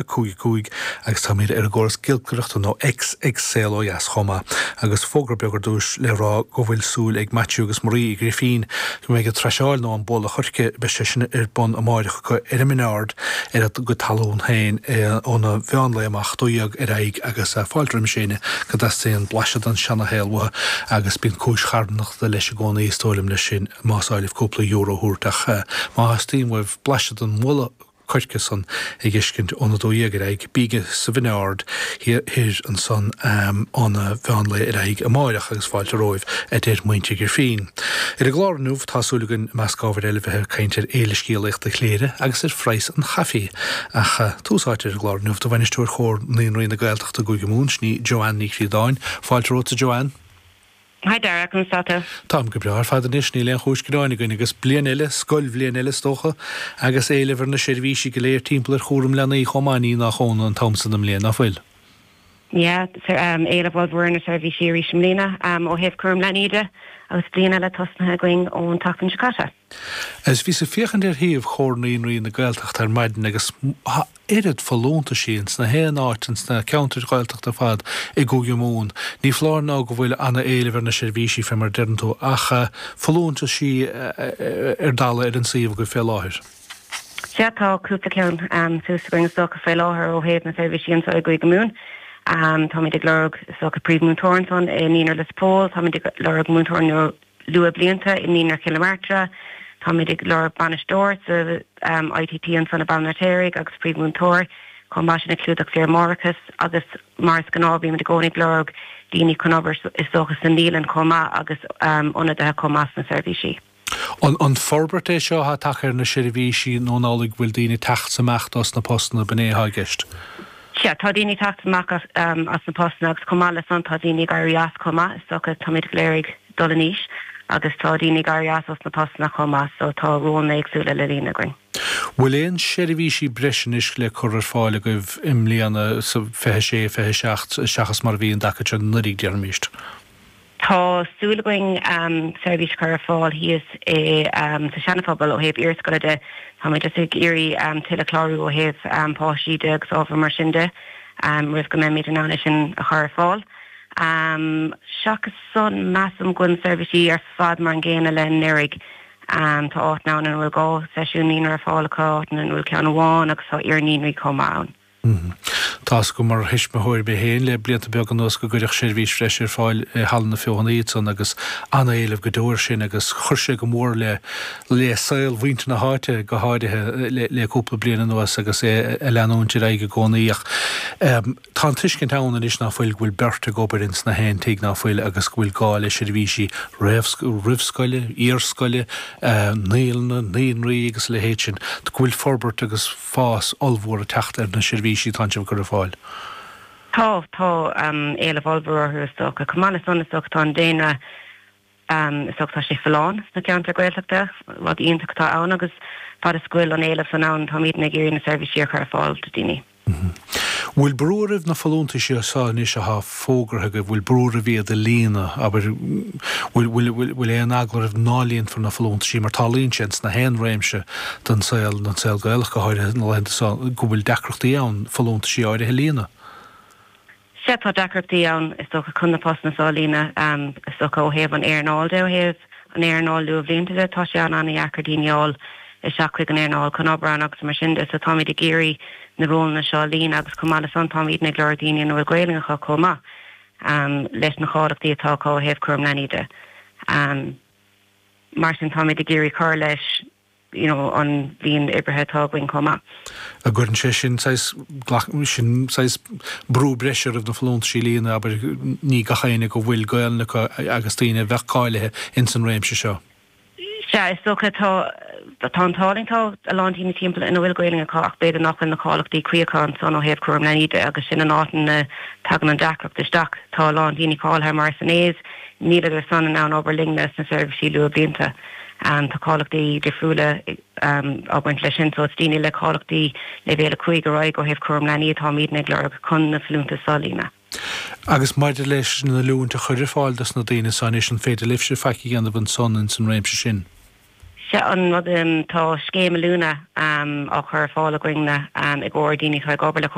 5 5 agus táimid ar an gcóras giolcaireachta nó X ag Saol Ó Dheas chomh maith. Agus fógra beag ar dtús le rá go bhfuil súil ag Maitiú agus Marie Uí Ghrifín go mbeidh an traiseáil nó an bualadh choirce, beidh sé sin ar bun amáireach acu ar an mBinneárd ar a gcuid talún féin óna mheán lae amach, 12 ar aghaidh agus fáilte roimis éinne go dteastaíonn blaiseadh den seana-shaol uathu agus bíonn cúis charthanachta leis i gcónaí is dóigh liom leis sin más áil libh cúpla euro a thabhairt ach má theastaíonn uaibh blaiseadh den bhualadh coirce san a dh'fheiscint óna 12 ar aghaidh, bígí sa Bhinneárd Thoir ansan óna mheán lae ar aghaidh amáireach agus fáilte romhaibh, a deir muintir Ghrifín. Ar an gclár inniu tá súil againn, i measc ábhair eile, bheith ag caint ar Fhéile Scéalaíochta Chléire agus ar phraghas an chaife. Ach tús áite ar an gclár inniu do Bhainisteoir Chomhar Naíonraí na Gaeltachta i gCúige Mumhan, sin í Joanne Ní Chríodáin. Fáilte romhatsa Joanne. Hi Dara, conas tá tú? Táim go breá ar fad anois, níl aon chúis gearáin againn agus bliain eile, scoilbhliain eile is dócha, agus éileamh ar na seirbhísí go léir timpeall ar chúram leanaí chomh maith, ní nach ionadh an t-am san den mbliain, ná fuil? Yeah, éileamh ollmhór ar na seirbhísí arís i mbliana ó thaobh cúram leanaí de agus bliain eile tosnaithe againn ón tseachtain seo caite. Agus bhíos ag féachaint ar shuíomh Chomhar Naíonraí na Gaeltachta ar maidin agus oiread folúntaisí ins na haon áit ins na ceantair Ghaeltachta ar fad i gCúige Mumhan. Ní foláir nó go bhfuil ana-éileamh ar na seirbhísí, fé mar a deireann tú, ach folúntaisí ar dalladh ar an suíomh agaibh fé láthair. Sea, tá cúpla ceann suas againn is dócha fé láthair ó thaobh na seirbhísí anseo i gCúige Mumhan. Táimid ag lorg is dócha príomh-mhúinteoir ansan i Naíonra Lios Póil, táimid ag lorg múinteoir nua Luathbhlianta i Naíonra Chill na Martra. Táimid ag lorg bainisteoir sa ITT ansan i Baile an Fheirtéaraigh agus príomh-mhúinteoir chomh maith sin ag clúdach saoire máithreachais agus mar is gnáth bímid i gcónaí ag lorg daoine chun obair is dócha sa naíolann chomh maith agus ionadaithe chomh maith sna seirbhísí. An forbairt é seo atá tagtha ar na seirbhísí nó an amhlaidh go bhfuil daoine ag teacht amach dos na postanna, b'in é atá i gceist? Sea, tá daoine ag teacht amach as na postanna agus chomh maith le san tá daoine ag éirí as chomh maith, is dócha, táimid go léir ag dul in aois agus tá daoine ag éirí as os na postanna chomh maith so tá rólanna éagsúla le líonadh againn. Bhfuil aon seirbhísí breise anois le cur ar fáil agaibh i mbliana sa 26, 27 seachas mar a bhí an dtaca seo anuraidh, déarfaimíst? Tá súil againn seirbhís a chur ar fáil thíos i sa Seana-Phobal ó thaobh iarscoile de. Táimid just ag iarraidh tuilleadh clárú ó thaobh páistí de agus ábhar mar sin de roimh go mbeimid in ann é sin a chur ar fáil. Seachas san, measaim go bhfuil na seirbhísí ar fad mar an gcéanna le anuraidh. Tá áiteanna ann ina bhfuil 2 seisiún naíonra ar fáil acu, áiteanna ina bhfuil ceann amháin agus tá iar-naíonraí chomh maith ann. Tá's agam mar thuismitheoir mé féin le blianta beaga anuas go gcuireadh seirbhís bhreise ar fáil i Halla na Feothanaí ansan agus an-éileamh go deo air sin agus chuir sé go mór le le saol mhuintir na háite go háirithe le le cúpla bliain anuas agus é ag leanúint ar aghaidh i gcónaí ach tá an tuiscint ann anois ná fuil go bhfuil beirt ag obair ins na haon tigh ná fuil agus go bhfuil gá le seirbhísí roimhscoile, iarscoile, naíolanna, naíonraí agus a leithéid sin, go bhfuil forbairt agus fás ollmhór ag teacht ar na seirbhísí atánn sibh ag cur ar fáil. Tá, tá éileamh ollmhór orthu is dócha. Chomh maith le san is dócha tá an daonra, is dócha tá sé folláin sna ceantair Ghaeltachta, rud iontach atá ann agus fad is go bhfuil an éileamh san ann táimidne ag iarraidh na seirbhísí a chur ar fáil do daoine. Bhfuil brú oraibh na folúntaisí seo anois athá fógartha agaibh, bhfuil brú oraibh iad a líonadh, abair, bhfuil, bhfuil, bhfuil, bhfuil aon eagla oraibh ná líonfar na folúntaisí mar tarlaíonn sé ins na haon réimse den saol, den saol Gaelach go háirithe na laethanta seo, go bhfuil deacrachtaí ann folúntaisí áirithe a líonadh? Sea, tá deacrachtaí ann, is dócha, chun na postanna seo a líonadh, is dócha, ó thaobh an earnáil de, ó thaobh an earnáil luathbhlianta de, tá sé an-an-dheacair daoine a fháil isteach chuig an earnáil chun obair ann agus mar sin de. So táimid ag iarraidh na rólanna seo a líonadh agus chomh maith le san táimidne ag lorg daoine ina bhfuil Gaelainn acu chomh maith leis na cáilíochtaí atá acu ó thaobh cúram leanaí de. Mar sin táimid ag iarraidh cur leis you know an líon oibrithe atá againn chomh maith. An gcuireann sé sin saghas, sin saghas brú breise oraibh na folúntaisí a líonadh, abair, ní gach éinne go bhfuil Gaelainn acu agus daoine a bheadh cáilithe ins an réimse seo. Sea, is dócha tá, tá an t-ádh linn, tá a lán daoine timpeall ina bhfuil Gaelainn acu ach b'fhéidir nach bhfuil na cáilíochtaí cuí acu ansan ó thaobh cúram leanaí de agus sin an áit ina dtagann an deacracht isteach. Tá a lán daoine cáilithe mar SNAs, níleadar san in ann obair linne sna seirbhísí luathbhlianta. Tá cáilíochtaí difriúla á baint leis sin so is daoine le cáilíochtaí leibhéal 5 ar aghaidh ó thaobh cúram leanaí atáimidne ag lorg chun na folúntais seo a líonadh. Agus maidir leis an oiliúint a chur ar fáil dos na daoine seo anois, an féidir libhse faic a dhéanamh ansan ins an réimse sin? Sea an rud, tá scéim oiliúna á chur ar fáil againne i gcomhair daoine atá ag obair le.